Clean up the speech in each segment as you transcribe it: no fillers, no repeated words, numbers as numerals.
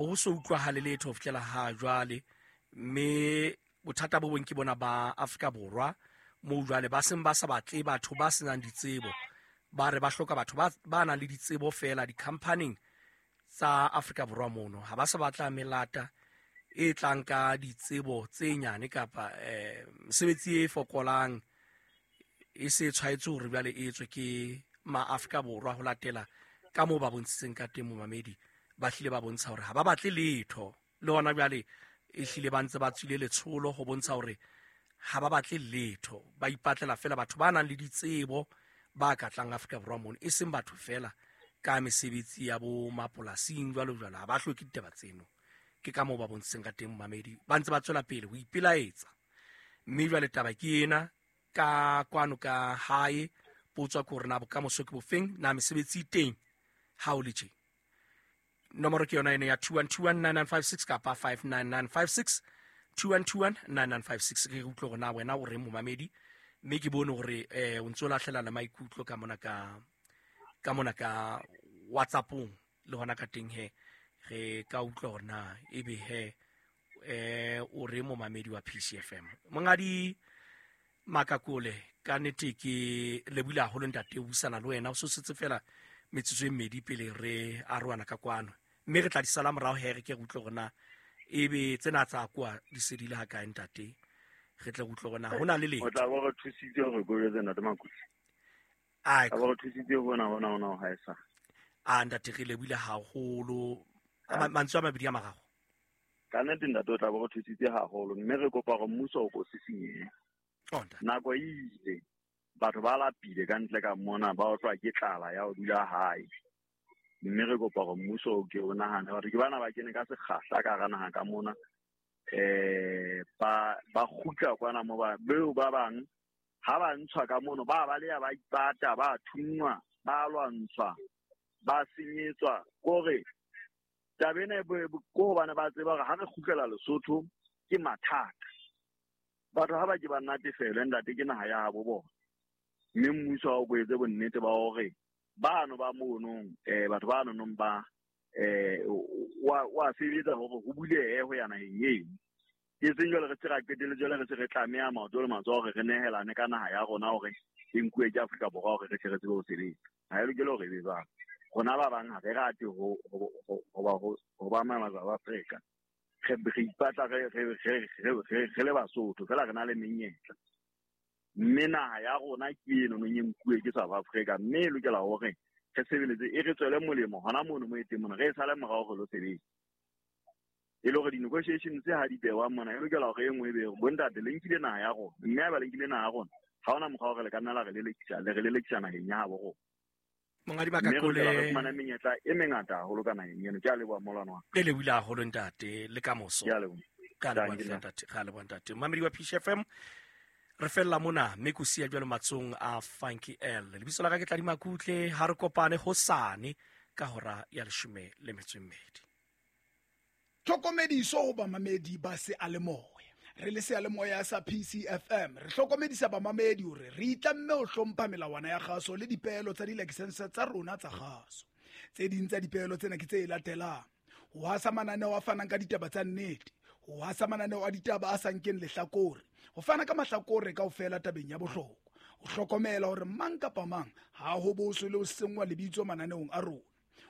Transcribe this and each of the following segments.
Ho so utlwahale letho ho fihlela ha jwale, mme bothata bo bong ke bona ba Afrika Borwa moo jwale ba seng ba sa batle batho ba senang ditsebo, ba re ba hloka batho ba nang le ditsebo feela di-companyng tsa Afrika Borwa mono. Ha ba sa batla melata e tlang ka ditsebo tse nyane kapa mesebetsi e fokolang e se tshwaetse hore jwale e etswe ke ma-Afrika Borwa ho latela ka moo ba bontshitseng ka teng. Momamedi, ba hlile ba bontsha hore ha ba batle letho le hona jwale, e hlile ba ntse ba tswile letsholo ho bontsha hore ha ba batle letho, ba ipatlela fela batho ba nang le ditsebo ba ka tlang Afrika Borwa mono, e seng batho fela ka mesebetsi ya bo mapolasing jwalo jwalo. Ha ba hloke ditaba tseno. Ke ka moo ba bontshitseng ka teng, momamedi, ba ntse ba tswela pele ho ipelaetsa. Mme jwale taba ke ena ka kwano ka hae, potswa ke hore na bokamoso ke bofeng, na mesebetsi e teng ha o le tje. Nomoro ke yona ene ya 21219956 kapa 59956, 21219956. Re utlwe hore na wena o reng, momamedi, mme ke bone hore o ntso lahlela le maikutlo ka mona ka mona ka WhatsAppong le hona ka teng he re ka utlwa hore na ebe he o re momamedi wa PCFM. Mongadi Makakole, ka nnete ke lebohile haholo ntate o buisana le wena. O sosetse fela metsotso e mmedi pele re arohana ka kwano, mme re tla di sala morao he re ke re utlwe hore na ebe tsena tsa kwa di sedile ha kae ntate, re tle re utlwe hore na ho na le letho. O tla bo re thusitse hore ko jwetse ntate Makusi. Ai. Tla bo re thusitse hona hona hona ho haesa. A ntate, re lebohile haholo. Mantswe a mabedi a mararo. Ka nnete ntate o tla bo re thusitse haholo, mme re kopa hore mmuso o ko sisinyehe. Oh, ntate. Nako e ile, batho ba lapile ka ntle ka mona, ba otlwa ke tlala ya ho dula hae. Mme re kopa hore mmuso o ke o nahane batho ke bana ba kene ka sekgahla ka hara naha ka mona. Ba kgutla kwana mo ba, beo ba bang ha ba ntshwa ka mono, ba baleha, ba ipata, ba thunngwa, ba lwantshwa, ba senyetswa. Kore taba ena e ko hobane ba tseba hore ha re kgutlela Lesotho ke mathata. Batho ha ba ke ba natefelwe ntate, ke naha ya habo bona. Mme mmuso ha o ko etse bonnete ba hore bano ba monong, batho ba nonong ba, wa sebetsa hore ho bulehe ho ya naheng eno. E seng jwale re se ra qetelle jwale re se re tlameha maoto le matsoho hore re nehelane ka naha ya rona hore e nkuwe ke Afrika Borwa hore re tle re tsebe ho sebetsa. Ha e lokele hore e be jwalo. Rona ba bang ha re rate ho ba South Africa. Re ipatla re le Basotho fela re na le menyetla. Mme naha ya rona ke eno nong e nkuwe ke South Africa, mme e lokela hore re sebeletse e re tswele molemo hona mono mo e teng mona, re e sale morao re lo sebetsa. E le hore di-negotiations tse ha di behwa mona, e lokela hore e nngwe e be bontate le nkile naha ya rona, mme haeba le nkile naha ya rona, ha hona mokgwa hore le ka nna la re lelekisa, le re lelekisa naheng ya habo rona. Mongadi Mme re Makakole, lokela re fumane menyetla e mengata haholo ka naheng eno. Ke a leboha molwana wa ka. Le lebohile haholo ntate, le ka moso. Ke a leboha. Ka leboha Thank you, ntate, ka leboha ntate. Mamedi wa PCFM, re fella mona mme ko siya jwalo matsong a Funky L. Lebitso la ka ke Tladi Makutle, ha re kopane hosane ka hora ya leshome le metso e mmedi. Tlhokomediso ho bamamedi ba seyalemoya. Re le seyalemoya sa PCFM, re hlokomedisa bamamedi hore re itlamme ho hlompha melawana ya kgaso le dipeelo tsa dilakesense tsa rona tsa kgaso. Tse ding tsa dipeelo tsena ke tse latelang: ho hasa mananeo a fanang ka ditaba tsa nnete, ho hasa mananeo a ditaba a sa nkeng lehlakore, ho fana ka mahlakore kaofela tabeng ya bohlokwa, ho hlokomela hore mang kapa mang ha ho boswe le ho senngwa lebitso mananeong a rona,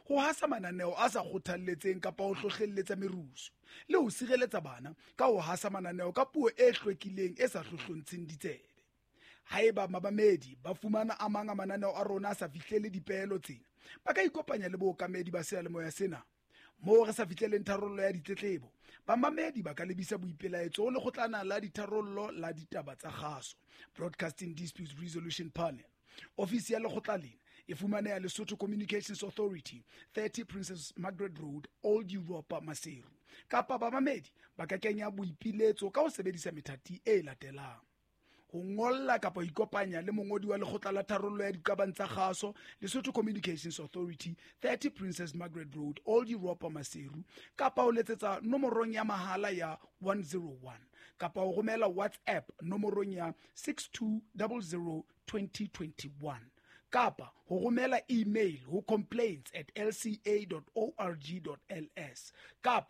ho hasa mananeo a sa kgothalletseng kapa ho hlohlelletsa merusu, le ho sireletsa bana ka ho hasa mananeo ka puo e hlwekileng e sa hlohlontsheng ditsebe. Haeba mamamedi ba fumana a mang a mananeo a rona a sa fihlele dipeelo tsena, ba ka ikopanya le bookamedi ba seyalemoya sena. Moo re sa fihleleng tharollo ya ditletlebo, bamamedi ba ka lebisa boipelaetso ho lekgotlana la ditharollo la ditaba tsa kgaso, Broadcasting Disputes Resolution Panel. Ofisi ya lekgotla lena e fumaneha Lesotho Communications Authority, 30 Princess Margaret Road, Old Europa, Maseru. Kapa bamamedi ba ka kenya boipiletso ka ho sebedisa methati e latelang: ho ngolla kapa ho ikopanya le mongodi wa lekgotla la tharollo ya diqabang tsa kgaso, Lesotho Communications Authority, 30 Princess Margaret Road, Old Europa, Maseru, kapa ho letsetsa nomorong ya mahala ya 101, kapa ho romela WhatsApp nomorong ya 6200 2021. Kapa ho romela email ho complaints@lca.org.ls kapa.